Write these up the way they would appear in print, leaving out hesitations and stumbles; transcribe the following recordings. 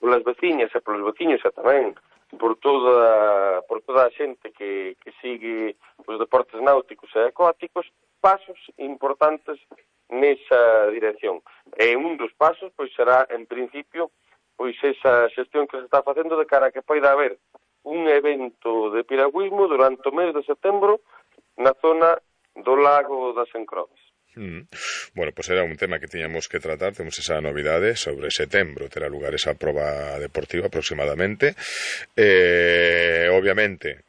polas veciñas e polos veciños e tamén por toda a xente que sigue os deportes náuticos e acuáticos, pasos importantes nesa dirección. E un dos pasos pois será, en principio, pois esa xestión que se está facendo de cara a que poida haber un evento de piragüismo durante o mes de setembro na zona do Lago das Encrodes. Bueno, pues era un tema que tiñamos que tratar. Temos esa novidade sobre setembro, terá lugar esa proba deportiva aproximadamente. Obviamente,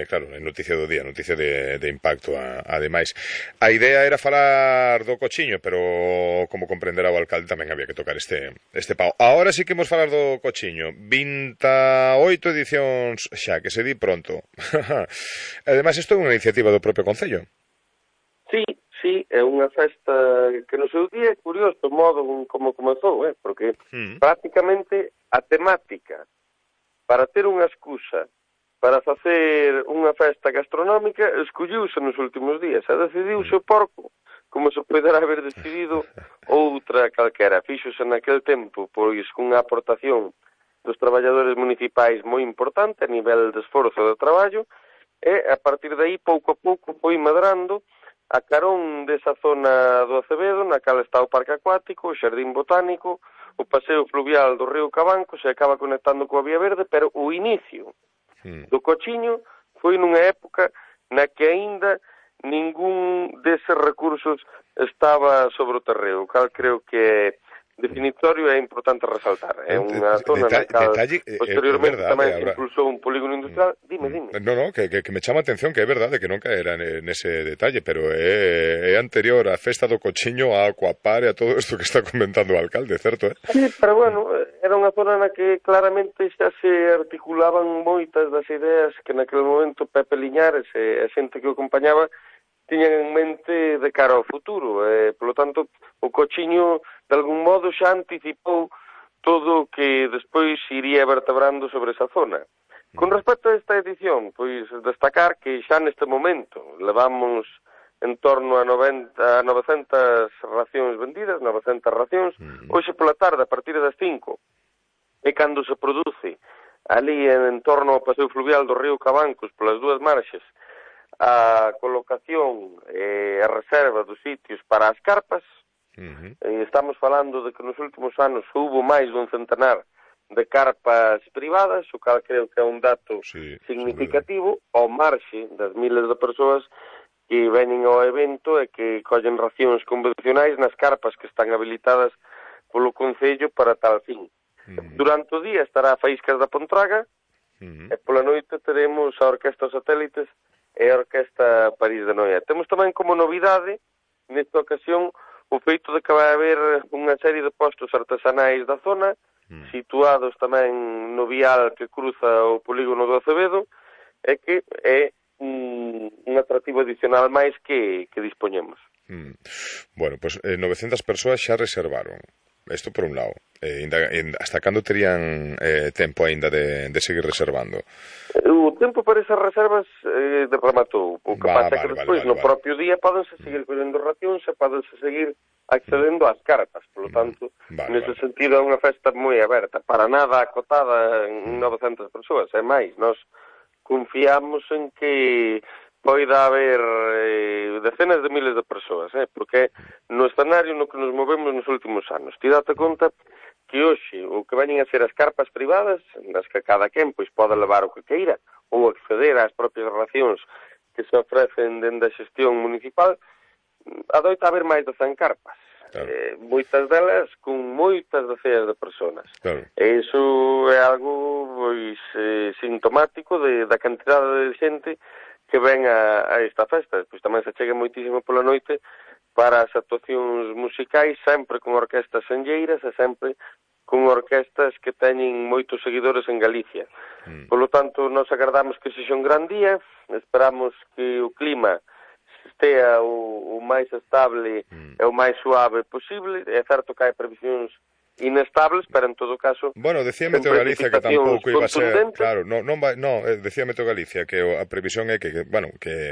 claro, é noticia do día, noticia de impacto ademais. A idea era falar do cochiño, pero como comprenderá o alcalde tamén había que tocar este pao. Ahora sí que imos falar do cochiño. 28 edicións xa, que se di pronto. Ademais, isto é unha iniciativa do propio Concello. Sí, é unha festa que no seu día é curioso o modo como comezou, porque prácticamente a temática para ter unha excusa para facer unha festa gastronómica escolliuse nos últimos días, e decidiuse o porco como se poderá haber decidido outra calquera. Fíxose naquel tempo pois cunha aportación dos traballadores municipais moi importante a nivel de esforzo de traballo, e a partir de aí pouco a pouco foi medrando a carón desa zona do Acevedo, na cal está o Parque Acuático, o Xardín Botánico, o paseo fluvial do río Cabanco, se acaba conectando coa Vía Verde, pero o inicio do cochiño foi nunha época na que aínda ningún deses recursos estaba sobre o terreo, o cal creo que é definitorio e é importante resaltar. É unha zona na cal posteriormente tamén se impulsou un polígono industrial. Dime. No, que me chama a atención que é verdade que non caera nese detalle, pero é anterior á festa do cochiño, a Aquapar e a todo isto que está comentando o alcalde, certo? Sí, pero bueno, era unha zona na que claramente xa se articulaban moitas das ideas que naquele momento Pepe Liñares e a xente que o acompañaba tiñan en mente de cara ao futuro. Polo tanto, o cochiño de algún modo xa anticipou todo o que despois iría vertebrando sobre esa zona. Con respecto a esta edición, pois destacar que xa neste momento levamos en torno a 900 racións vendidas, 900 racións. Hoxe pola tarde, a partir das 5, é cando se produce ali en torno ao paseo fluvial do río Cabancos, polas dúas marxes, a colocación e a reserva dos sitios para as carpas. Estamos falando de que nos últimos anos houbo máis dun centenar de carpas privadas, o cal creo que é un dato significativo, ao marxe das miles de persoas que veñen ao evento e que collen racións convencionais nas carpas que están habilitadas polo Concello para tal fin. Durante o día estará a Faíscas da Pontraga e pola noite teremos a Orquesta Satélites e a Orquesta París de Noia. Temos tamén como novidade nesta ocasión o feito de que vai haber unha serie de postos artesanais da zona, situados tamén no vial que cruza o polígono do Acevedo, e que é un atractivo adicional máis que dispoñemos. Bueno, pues 900 persoas xa reservaron. Isto por un lado. Hasta cando terían tempo aínda de seguir reservando? O tempo para esas reservas rematou. O que pasa é que despois, no propio día, podense seguir collendo racións e podense seguir accedendo ás carpas. Por lo tanto, nese sentido, é unha festa moi aberta. Para nada acotada en 900 persoas. É máis, nós confiamos en que poida haber decenas de miles de persoas, porque no escenario no que nos movemos nos últimos anos. Ti date conta que hoxe o que veñen a ser as carpas privadas, nas que cada quen pois pode levar o que queira ou acceder ás propias racións que se ofrecen dende a xestión municipal, adoita haber máis de 100 carpas. Moitas delas con moitas deceas de personas. E iso é algo pois sintomático da cantidade de xente que ven a esta festa. Pois tamén se chega moitísimo pola noite para as actuacións musicais, sempre con orquestas senlleiras e sempre con orquestas que teñen moitos seguidores en Galicia. Polo tanto, nos agardamos que sexa un gran día, esperamos que o clima estea o máis estable e o máis suave posible. É certo que hai previsións inestables, pero en todo caso bueno, decía Meteo Galicia que tampouco iba a ser, claro, decía Meteo Galicia que a previsión é que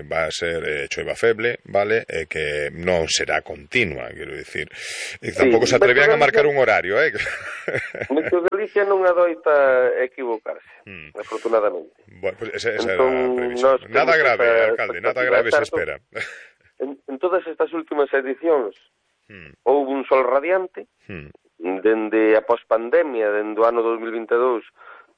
va a ser choiva feble, vale, e que non será continua, quero dicir, e tampouco se atrevían a marcar un horario, Meteo Galicia non adoita equivocarse, afortunadamente. Bueno, pues esa era a previsión. Nada grave, alcalde, nada grave se espera. En todas estas últimas edicións houve un sol radiante, dende a pospandemia, dende o ano 2022,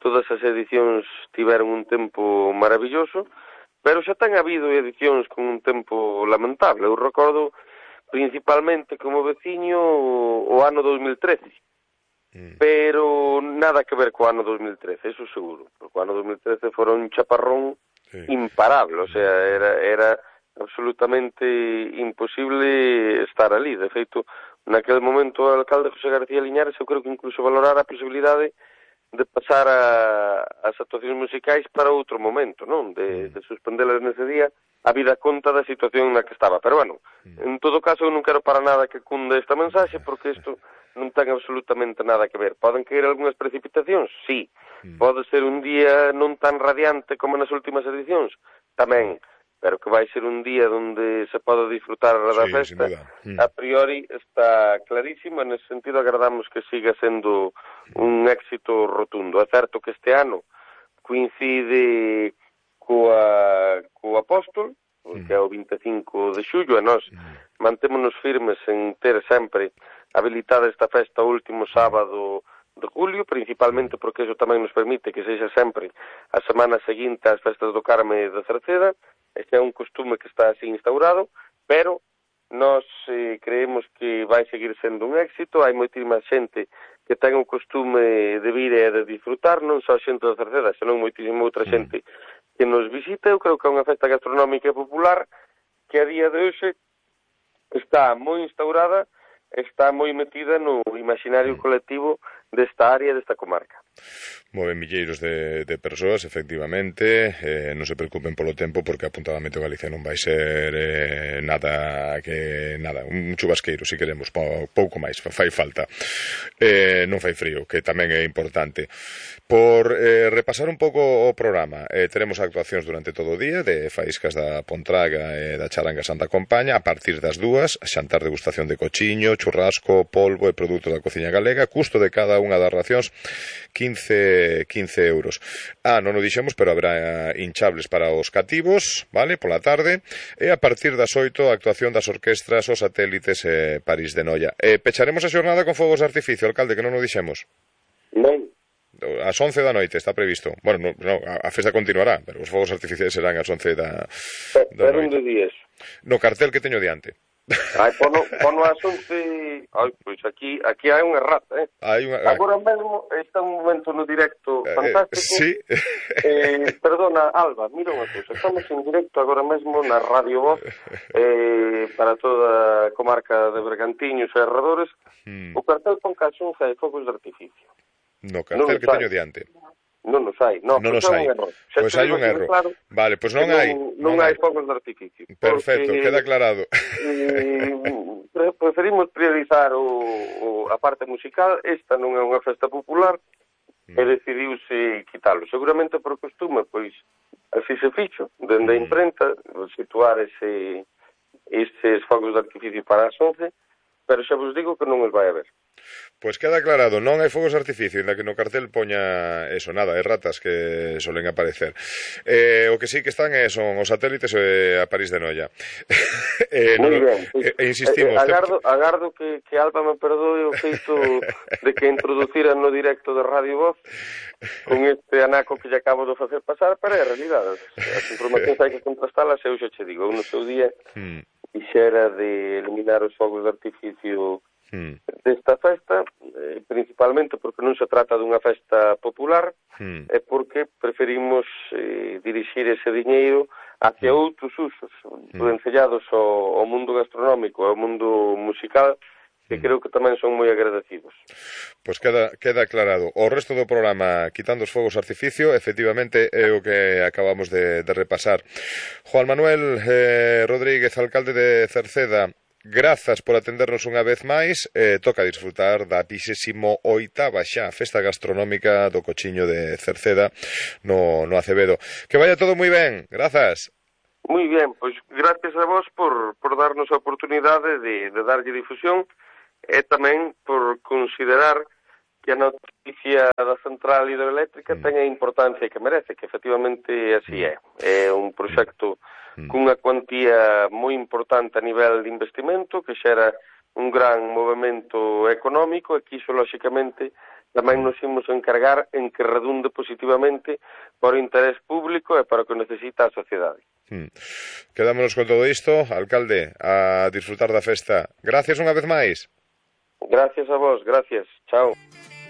todas as edicións tiveron un tempo maravilloso, pero xa ten habido edicións con un tempo lamentable. Eu recordo principalmente como veciño o ano 2013, pero nada que ver co ano 2013, eso seguro, porque o ano 2013 fora un chaparrón imparable, o sea, era absolutamente imposible estar ali. De feito, naquele momento o alcalde José García Liñares eu creo que incluso valorara a posibilidade de pasar as actuacións musicais para outro momento, non? De suspendelas nese día a vida conta da situación na que estaba. Pero, bueno, en todo caso eu non quero para nada que cunde esta mensaxe porque isto non ten absolutamente nada que ver. Poden caer algunhas precipitacións? Sí. Pode ser un día non tan radiante como nas últimas edicións? Tamén. Pero que vai ser un día onde se pode disfrutar da festa, a priori está clarísimo, en ese sentido agardamos que siga sendo un éxito rotundo. É certo que este ano coincide co Apóstol, que é o 25 de xullo, e nós mantémonos firmes en ter sempre habilitada esta festa o último sábado de julio, principalmente porque eso tamén nos permite que sexa sempre a semana seguinte ás festas do Carme de Cerceda. Este é un costume que está así instaurado, pero nós creemos que vai seguir sendo un éxito. Hai moitísima xente que ten o costume de vir e de disfrutar, non só xente da Cerceda, senón moitísima outra xente que nos visita. Eu creo que é unha festa gastronómica e popular que a día de hoxe está moi instaurada, está moi metida no imaginario colectivo desta área, desta comarca. Moven milleiros de persoas, efectivamente, non se preocupen polo tempo porque apuntado a Meteo Galicia non vai ser nada, un chubasqueiro, se queremos, pouco máis, fai falta, non fai frío, que tamén é importante. Por repasar un pouco o programa, teremos actuacións durante todo o día de faíscas da Pontraga e da Charanga Santa Compaña, a partir das 2, xantar degustación de cochiño, churrasco, polvo e produtos da cociña galega, custo de cada unha das racións 15 euros. Non o dixemos, pero haberá hinchables para os cativos, vale, pola tarde, e a partir das 8 a actuación das orquestras, os satélites e París de Noia. Pecharemos a xornada con fogos de artificio, alcalde, que non o dixemos. Non. Ás 11 da noite está previsto. Bueno, a festa continuará, pero os fogos artificiais serán ás 11 da noite. Pero onde días? No cartel que teño diante. Pono ás 11. Pois aquí hai unha errata, Agora mesmo está un momento no directo fantástico. Sí. Perdona, Alba, mira unha cousa. Estamos en directo agora mesmo na Radio Voz para toda a comarca de Bergantiños e arredores. O cartel pon que ás 11 hai fogos de artificio. No cartel que teño diante. Non nos hai, non nos hai. Pois hai un erro. Claro, vale, pois non hai. Non hai fogos de artificio. Perfecto, queda aclarado. Preferimos priorizar a parte musical. Esta non é unha festa popular e decidiuse quitalo. Seguramente por costume, pois así se fixo, dende a imprenta, situar estes fogos de artificio para as 11, pero xa vos digo que non os vai haber. Pois queda aclarado, non hai fogos de artificio, ainda que no cartel poña eso, nada, ratas que solen aparecer. O que sí que están son os satélites e a París de Noia. Moi ben. Insistimos. Agardo que Alba me perdoe o feito de que introduciran no directo de Radio Voz con este anaco que lle acabo de facer pasar, pero é a realidade. As informacións hai que contrastalas, eu xa che digo, no seu día quixera de eliminar os fogos de artificio desta festa, principalmente porque non se trata dunha festa popular, e porque preferimos dirixir ese diñeiro hacia outros usos, encellados ao mundo gastronómico e ao mundo musical, que creo que tamén son moi agradecidos. Pois queda aclarado. O resto do programa, quitando os fogos artificio, efectivamente é o que acabamos de repasar. Juan Manuel Rodríguez, alcalde de Cerceda, grazas por atendernos unha vez máis. Toca disfrutar da 28ª xa Festa Gastronómica do Cochiño de Cerceda no Acevedo. Que vaya todo moi ben, grazas. Moi ben, pois gracias a vos por darnos a oportunidade de darlle difusión e tamén por considerar que a noticia da central hidroeléctrica ten a importancia que merece, que efectivamente así é. É un proxecto cunha cuantía moi importante a nivel de investimento, que xera un gran movimento económico e que iso, lóxicamente, tamén nos imos encargar en que redunde positivamente para o interés público e para o que necesita a sociedade. Quedámonos con todo isto, alcalde, a disfrutar da festa. Gracias unha vez máis. Gracias a vos, gracias. Chao.